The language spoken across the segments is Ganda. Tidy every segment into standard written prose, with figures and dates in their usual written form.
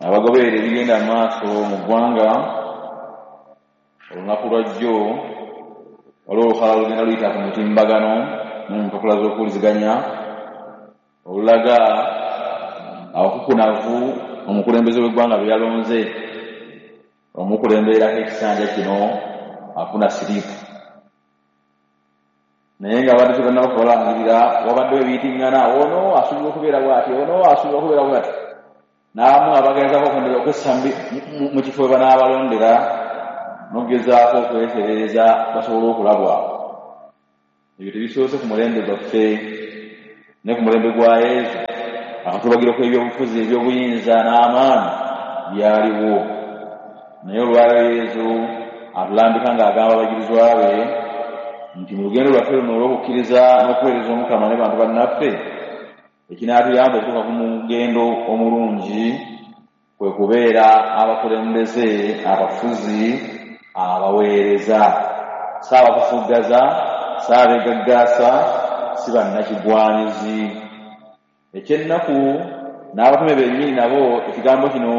Abagoberera ebigenda maaso mu ggwanga, olunaku lwajjo waliwo olukalala olugenda luyita ku mutimbagano ne mu mpapula z'okuwuliziganya olulaga abakukunavu omukulembeze w'eggwanga be yalonze omukulemberako ekisanja kino afuna siriipu. Naye nga abadde tebannaba kubalangirira, wabaddewo ebiyitiŋŋana, ono asuubirwa okubeera bw'ati, ono asuubirwa okubeera bw'ati, n'abamu abagezaako okwessa mu kifo we banaabalondera n'okugezaako okwetereeza basobole okulabwa. Ebyo tebisoose ku mulembe gwaffe, ne ku mulembe gwa Yesu akatubagiro k'ebyobufuzi, ebyobuyinza n'amaanyi byaliwo. Naye olwaleero Yesu atulambika ng'agamba abayigirizwa be nti mu lugendo lwaffe luno olw'okukkiriza n'okuweereza Omukama ne bantu bannaffe, ekinaatuyamba okutuuka ku mugendo omulungi kwe kubeera abakulembeze, abafuzi, abaweereza, si abakufuggaza, si abeegaggaasa, si bannakigwanyizi. Ekyennaku n'abatume bennyini nabo ekigambo kino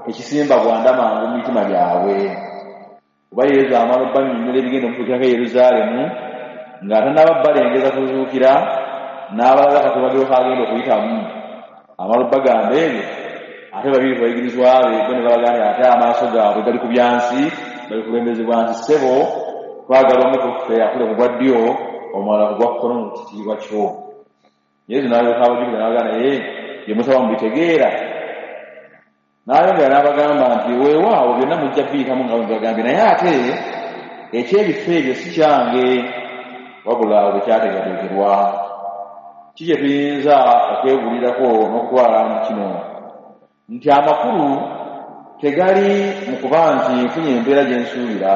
tekisimba gwanda mangu mu mitima gyabwe, kuba Yesu amala obbannyonnyola ebigenda omutuukirako e Yerusaalemu ng'atannaba balengeza kuzuukira n'abalaga akatubagiro k'agenda okuyitamu. Amala obbagamba ebyo, ate babiri ku bayigirizwa be bo ne balaga nti ate amaaso gaabwe gali ku byansi, bali kulembezebwa nti ssebo twagala omu ku ffe akule ku gwa ddyo omulala ku gwa kkono mu kitiibwa kyo. Yesu n'alyoka abajjukira n'abagamba, naye bye musaba mubitegeera? N'ayongera n'abagamba nti weewaawo byonna mujja biyitamu nga bwe mbibagambye, naye ate eky'ebifo ebyo si kyange, wabula bwe kyateekateekerwa. Ki kye tuyinza okwebuulirako n'okutwala mu kino? Nti amakulu tegali mu kuba nti nfunye empeera gye nsuubira.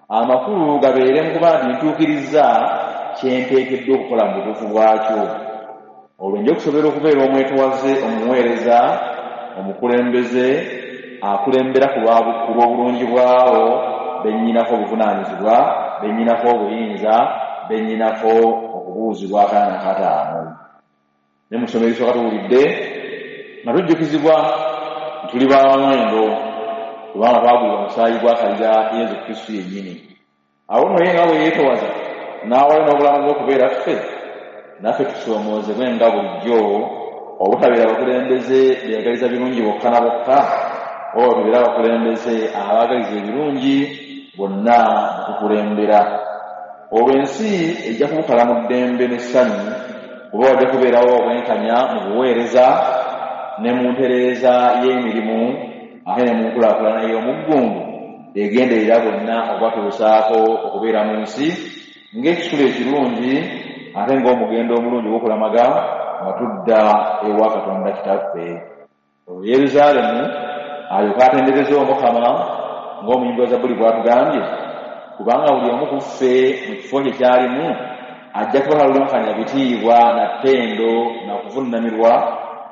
Amakulu gabeere mu kuba nti ntuukirizza kye nteekeddwa okukola mu butuufu bwakyo. Olwo nja okusobola okubeera omwetowaze, omuweereza, omukulembeze akulembera ku lw'obulungi bw'abo be nnyinako obuvunaanyizibwa, be nnyinako obuyinza, be nnyinako okubuuzibwa akana n'akataano. Ne mu ssomo erisooka tuwulidde nga tujjukizibwa nti tuli ba muwendo kubanga twagulibwa musaayi gwa Kaliga Yesu Kristo yennyini. Awo nno ye nga bwe yeetowaza n'awaayo n'obulamu bwe okubeera ffe, naffe tusoomoozebwe nga bulijjo obutabeera bakulembeze beeyagaliza birungi bokka na bokka, wabula tubeere abakulembeze abaagaliza ebirungi bonna be tukulembera. Olwo ensi ejja kubukala mu ddembe n'essanyu, kuba wajja kubeerawo obwenkanya mu buweereza ne mu ntereeza y'emirimu ate ne mu nkulaakulana ey'omuggundu egenderera bonna okubatuusaako okubeera mu nsi ng'ekisulo ekirungi ate ng'omugendo omulungi ogw'okulamaga nga tudda ewa Katonda Kitaffe. Olwo Yerusaalemu alyoke atendereze Omukama ng'omuyimbi wa Zabbuli bw'atugambye, kubanga buli omu ku ffe mu kifo kye ky'alimu ajja kuba talulunkanira bitiibwa na ttendo na kuvunnamirwa,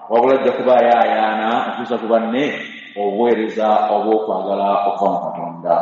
wabula ajja kuba ayaayaana okutuusa ku banne obuweereza obw'okwagala okuva mu Katonda.